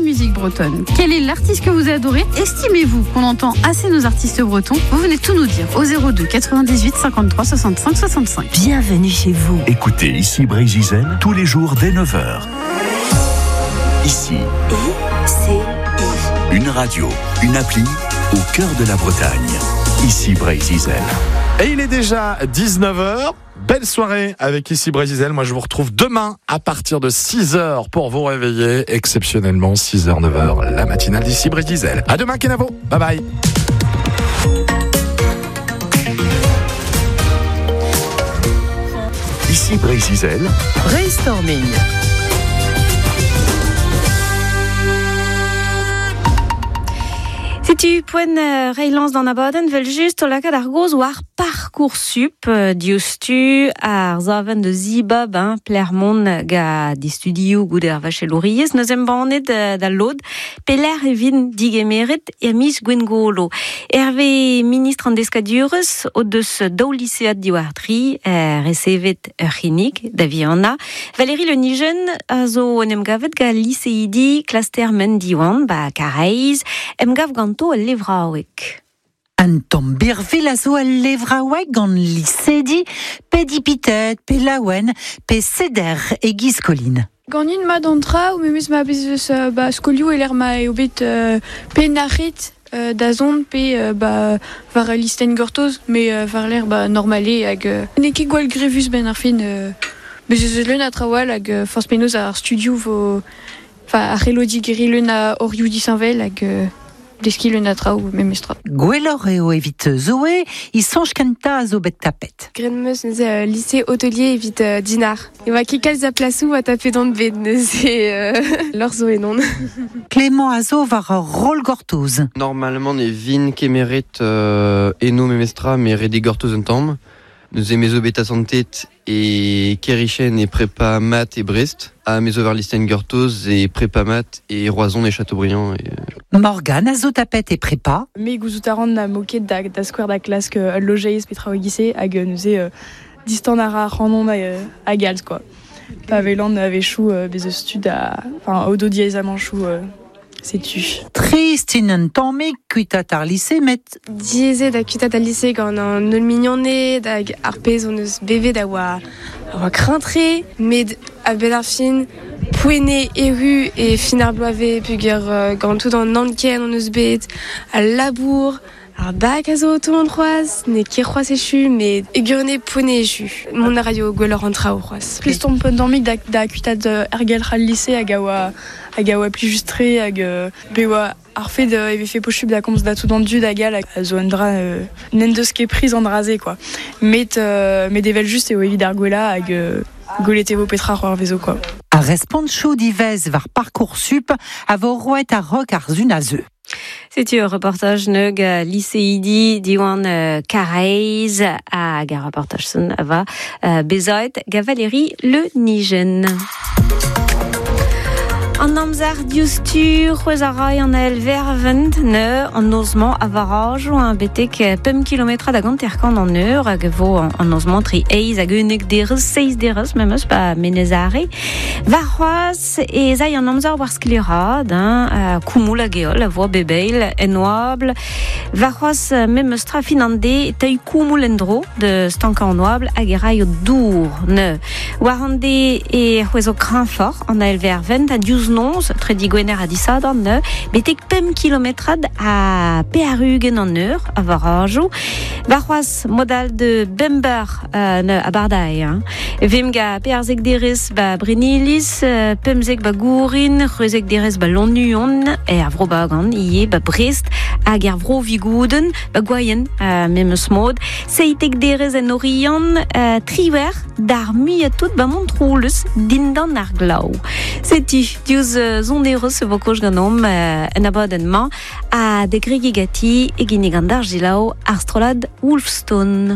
musique bretonne? Quel est l'artiste que vous adorez? Estimez-vous qu'on entend assez nos artistes bretons? Vous venez tout nous dire au 02 98 53 65 65. Bienvenue chez vous. Écoutez Ici Breizh Izel tous les jours dès 9h. Ici. I C I. Une radio, une appli au cœur de la Bretagne. Ici Breizh Izel. Et il est déjà 19h. Belle soirée avec Ici Breizh Izel. Moi, je vous retrouve demain à partir de 6h pour vous réveiller. Exceptionnellement, 6h, 9h, la matinale d'Ici Breizh Izel. À demain, Kenavo. Bye bye. Ici Breizh Izel. Brainstorming. Setu poent reiñ lañs d'an abadenn 'vel-just o lakaat ar gaoz war Parcoursup diouzhtu ar savenn da zibab hein, pelec'h mont gant e studioù goude ar vachelouriezh 'neus embannet da lod pelec'h e vint digemeret er miz Gwengolo. Hervez ministr an deskadurezh o deus daou lisead diwar dri resevet ur c'hinnig da vihanañ. Valérie Le Nijen a zo en em gavet gant liseidi klaster Men Diwan ba Karaez, emgav ganto al levraoueg. Un tamm birvilh a zo al levraoueg gant lisedi, pe dipitet, pe laouen, pe seder e-giz Colin. Ganin mat an traoù, memes ma bez eus ba, skolioù e-lec'h ma eo bet pe nac'het da zont pe ba, war ul listenn gortoz, met war-lerc'h ba, normal eo hag n'eo ket gwall grevus 'benn ar fin. Bez ez eus leun a traoù all hag forzh penaos ar studioù vo enfin ar c'hello digeriñ leun a orioù disheñvel hag deskiñ leun a traoù memestra. Gwelloc'h eo evit Zoé, he soñj kentañ a zo bet tapet. Graet 'm eus neuze lycée hôtelier evit Dinard. E oa ket kalz a plasoù a tapet on bet neuze lorc'h zo ennon. Clément a zo war ur roll gortoz. Normalement ne vin kemeret eno memestra met ret eo gortoz un tamm. Neuze me zo bet asantet e Kerichen e prepa mat e Brest, ha me zo war listenn gortoz e prepa mat e Roazhon e Châteaubriand. E... Morgane a zo tapet e prepa. Me gouzout a ran na mo ket da, da skouer da klask ul lojeiz petra e hag neuze distan a ra ac'hanon a galz quoi. Pa welan a-wechoù bez eus tud a, enfin, o do diaezamanchoù setu. Trist int un tammig kuitaat ar lise, met... Diaezet ha kuitaat al lise gant an holl mignoned hag ar pezh hon eus bevet a oa, a oa kreñv-tre, met a-benn ar fin, poent eo erru e fin ar bloavezh peogwir gant tout an anken hon eus bet, al labour, ar bak a zo o tont c'hoazh, n'eo ket c'hoazh echu, met e gwirionez poent eo echu. Mont a raio gwelloc'h an traoù c'hoazh. Trist omp un tammig da, da kuitaat ergelc'h al lise hag a oa, hag a oa plijus-tre hag bet oa ar fed e vefe posupl da komz da tout an dud hag all a zo un dra n'en deus ket priz an dra-se quoi. Met, met evel-just eo evit ar gwellañ hag gwelet e vo petra c'hoarvezo quoi. Ar respontoù diwezh war Parcoursup a vo roet a-raok ar sun a zeu. Setu ur reportaj neug liseidi Diwan Karaez hag ar reportaj son a va bezaet gant Valérie Le Nijen. An amzer diouzhtu, c'hwezh a ray an ael vervent neu an noz-mañ a varajoù hein, betek 5 km hag hanter-kant an eur hag e vo an noz-mañ tre eizh hag unnek derez, seizh derez memes pa Menez Are. Warc'hoazh ez ay an amzer war sklaeraat, hein, koumoul hag heol a vo bep eil en oabl. Warc'hoazh memes tra fin an deiz e teuy koumoul en-dro da stankañ an oabl hag e raio dour neuze. War an deiz e c'hwezo kreñfoc'h an ael vervent ha diouzh noz, tre digwener ha disadorn neuze, betek 5 kilometrad ha 80 an eur a varajoù. Warc'hoazh mod-all de bemp eur neuze abardaez. Hein. Vemp ga perzek derez ba Brenniliz, pemzek ba Gourin, c'hwezek derez ba Lannuon, er vro Bagan ivez ba Brest hag er vro Vigouden, ba Gwaien memes mod. Seitek derez en Oriant, triwec'h d'ar muiañ tout ba Montroulez dindan ar glav. Setu diouzh sonerezh e vo kaoz ganeomp en abadenn-mañ ha da gregiñ ganti e ginnig an dargelaou ar strollad Wolfstone.